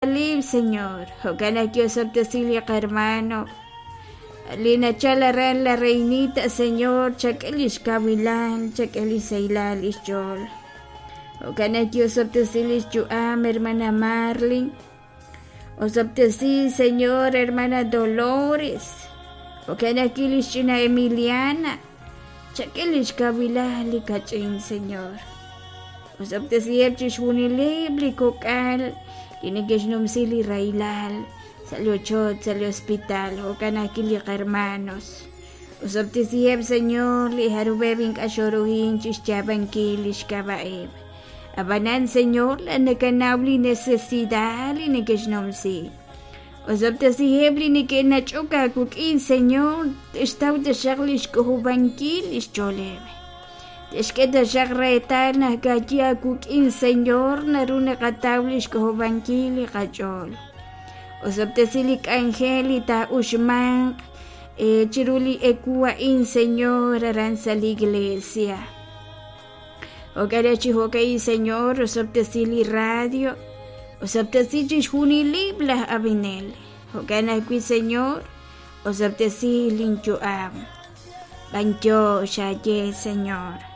Lib, Señor. Jo'kan naq ki'osob'tesi li qahermano li nachal aran La Reinita, Señor, chak'e lix kawilal, chak'e lix sahilal lix ch'ool. Jo'kan naq ki'osob'tesi lix yu'am, hermana Marlin. Osob'tesi, Señor, hermana Dolores. Jo'kan ajwi' lix ch'ina Emiliana. Chak'e lix kawilal li kach'in, Señor. Osob'tesiheb' chixjunileb' li kok'al li neke'xnumsi li rahilal sa' li ochoch, sa' li hospital, jo'kan ajwi' li qahermanos. Osob'tesiheb', Señor, li jarub'eb' ink'a' xoruhin chixyaab'ankil lix k'ab'a'eb'. A'b'anan, Señor, laa'at nakanaw li necesidad li neke'xnumsi. Osob'tesiheb' li neke'nach'ok aawik'in, Señor, te'xtaw taxaq lix k'ojob'ankil lix ch'ooleb'. Te'xk'e taxaq reetal naq ka'ajwi' aawik'in, Señor, naru naqataw lix k'ojob'ankil li qach'ool. Osob'tesi li k'anjel li taa'uxmanq eh, chiru li ewu a'in, Señor, aran sa' li iglesia. Jo'kan chi jo'ka'in, Señor, osob'tesi li radio, osob'tesi chixjunileb' laj ab'inel. Jo'kan ajwi', Señor, osob'tesi lin yu'am. B'antiox aaye, Señor.